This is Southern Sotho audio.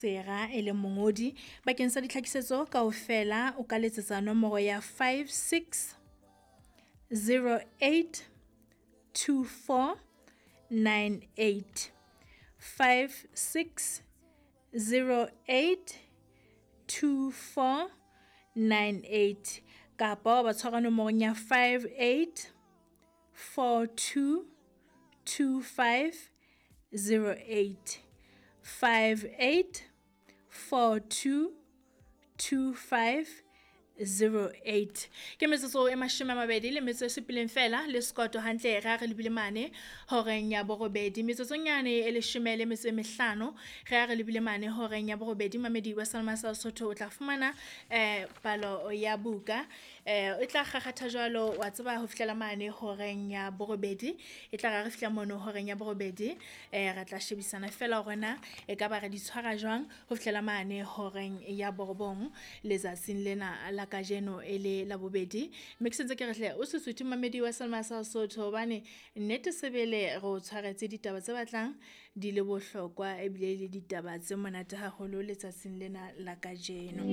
Sera e leng mongodi. Bakeng sa ditlhakisetso kaofela o ka letsetsa nomoro ya 56 08 24 98, 56 08 24 98, kapa wa ba tshwara nomorong ya 58 42 25 08, 58 42 25 08. Ke metsotso e 27 fela le sekoto hantle re a re lebile mane horeng ya borobedi. Metsotsonyane e 15 re a re lebile mane horeng ya borobedi. Mamedi wa Salma sa Sotho o tla fumana palo ya buka, e tla kgakgatha jwalo wa tseba ho fihlela mane horeng ya borobedi. E tla ra re fihla mono horeng ya borobedi, re tla shebisana fela hore na e ka ba re di tshwara jwang ho fihlela mane horeng ya borobong letsatsing lena la kajeno e le la bobedi. Mme ke sentse ke re hle o se suthe mamedi wa Salma sa Sotho, hobane nnete sebele re o tshwaretse ditaba tse batlang di le bohlokwa ebile le ditaba tse monate haholo letsatsing lena la kajeno.